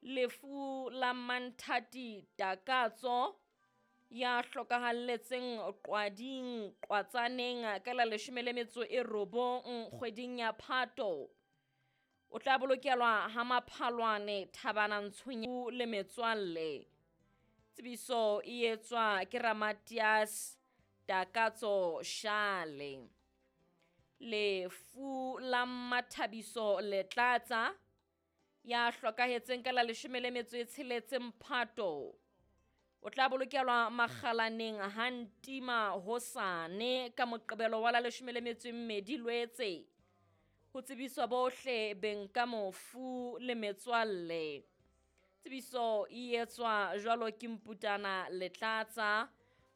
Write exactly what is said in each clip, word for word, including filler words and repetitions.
Lefu la Manthati Takatso ya hlokahalletseng Qwading Qwatsaneng ka la leshome le metso e robong kgweding ya Phato. O tla bolokelwa ha Maphalwane Thabana Ntshunya le metswalle. Tsebiso e etswa ke Ramatias Takatso Shale. Lefu la Mathabiso Letlatsa ya hlokahetseng ka la leshome le metso e tsheletseng Phato. O tla bolokelwa Makgalaneng ha Ntima hosane ka Moqebelo wa la leshome le metso e mmedi Lwetse. Ho tsebiswa bohle beng ka mofu le metswalle. Tsebiso e etswa jwalo ke Mputana Letlatsa,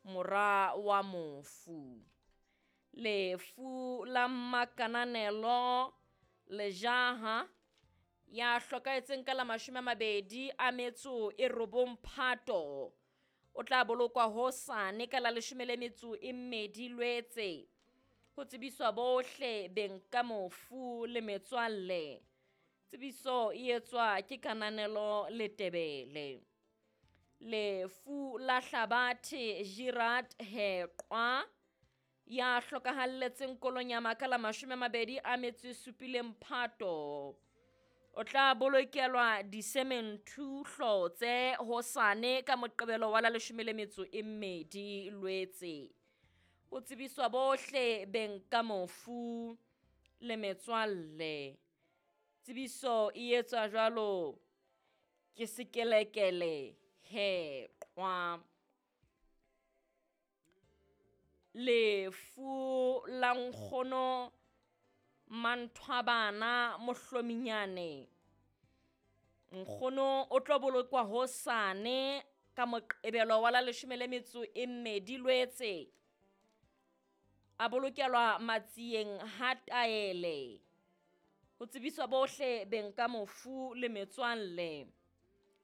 mora wa mofu. Lefu la Makananelo Lejaha ya hlokahetseng ka la mashome a mabedi a metso e robong Phato. O tla bolokwa hosane ka la leshome le metso e mmedi Lwetse. Ho tsebiswa bohle beng ka mofu le metswalle. Tsebiso e etswa ke Kananelo Letebele. Lefu la Hlabathe Girard Heqwa ya hlokahalletseng Kolonyama ka la mashome a mabedi a metso e supileng Phato. O tla bolokelwa disementhu Hlotse hosane ka Moqebelo wa la leshome le metso e mmedi Lwetse. Ho tsebiswa bohle beng ka mofu le metswalle. Tsebiso e etswa jwalo ke Sekelekele Heqwa. Lefu la nkgono Manthwabana Mohlominyane. Nkgono o tlo bolokwa hosane ka Moqebelo wa la leshome le metso e mmedi Lwetse. A bolokelwa Matsieng ha Taele. Ho tsebiswa bohle beng ka mofu le metswalle.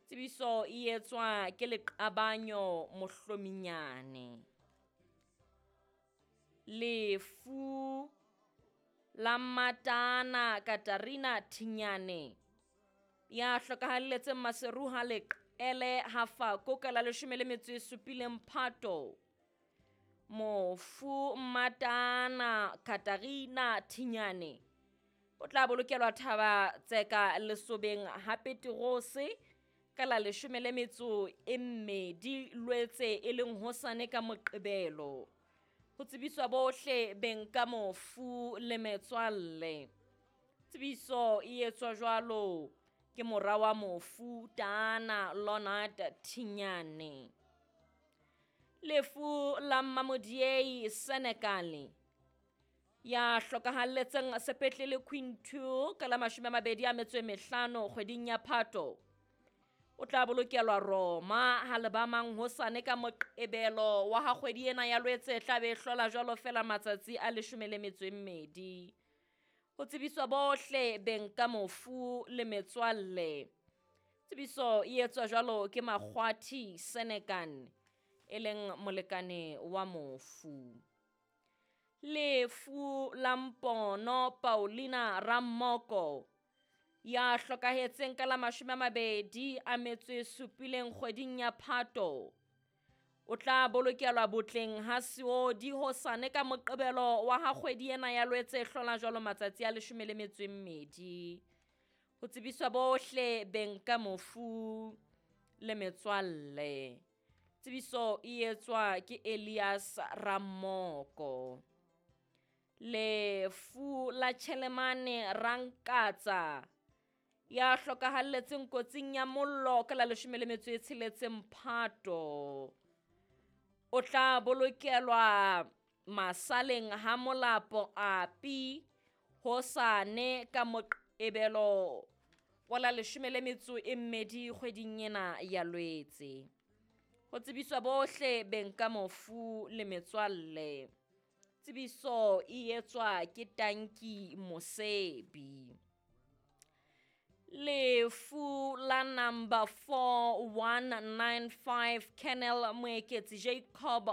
Tsebiso e etswa ke Leqabanyo Mohlominyane. Lefu la Matana Katarina Thinyane ya hlokahalletseng Maseru ha Leqele ha Fako ka la leshome le metso e supileng Phato. Mofu Matana Katarina Thinyane o tla bolokelwa Thaba Tseka Lesobeng ha Petrose ka la leshome le metso e mmedi Lwetse e leng hosane ka Moqebelo. Ho tsebiswa bohle beng ka mofu le metswalle. Tsebiso e etswa jwalo ke mora wa mofu Tana Leonard Thinyane. Lefu la Mmamodiei Senekale ya hlokahalletseng sepetlele Quintu ka la mashome a mabedi a metso e mehlano kgweding ya Phato. O tla bolokelwa Roma ha Lebamang hosane ka Moqebelo wa ha kgwedi ena ya Lwetse e tla be e hlola jwalo fela matsatsi a leshome le metso e mmedi. Ho tsebiswa bohle beng ka mofu le metswalle. Tsebiso e etswa jwalo ke Makgwathi Senekan e leng molekane wa mofu. Lefu la Mpono Paulina Rammoko ya hlokahetseng ka la mashome a mabedi a metso e supileng kgweding ya Phato. O tla bolokelwa Botleng ha Seodi hosane ka Moqebelo wa ha kgwedi ena ya Lwetse e hlola jwalo matsatsi a leshome le metso e mmedi. Ho tsebiswa bohle beng ka mofu le metswalle. Tsebiso e etswa ke Elias Rammoko. Lefu la Chelemane Rankatsa ya hlokahalletseng kotsing ya mollo ka la leshome le metso e tsheletseng Phato. O tla bolokelwa Masaleng ha Molapo Api hosane ka Moqebelo wa la leshome le metso e mmedi kgweding ena ya Lwetse. Ho tsebiswa bohle beng ka mofu le metswalle. Tsebiso e etswa ke Tanki Mosebi. Lefu la number four one nine five Colonel Moeketsi Jacob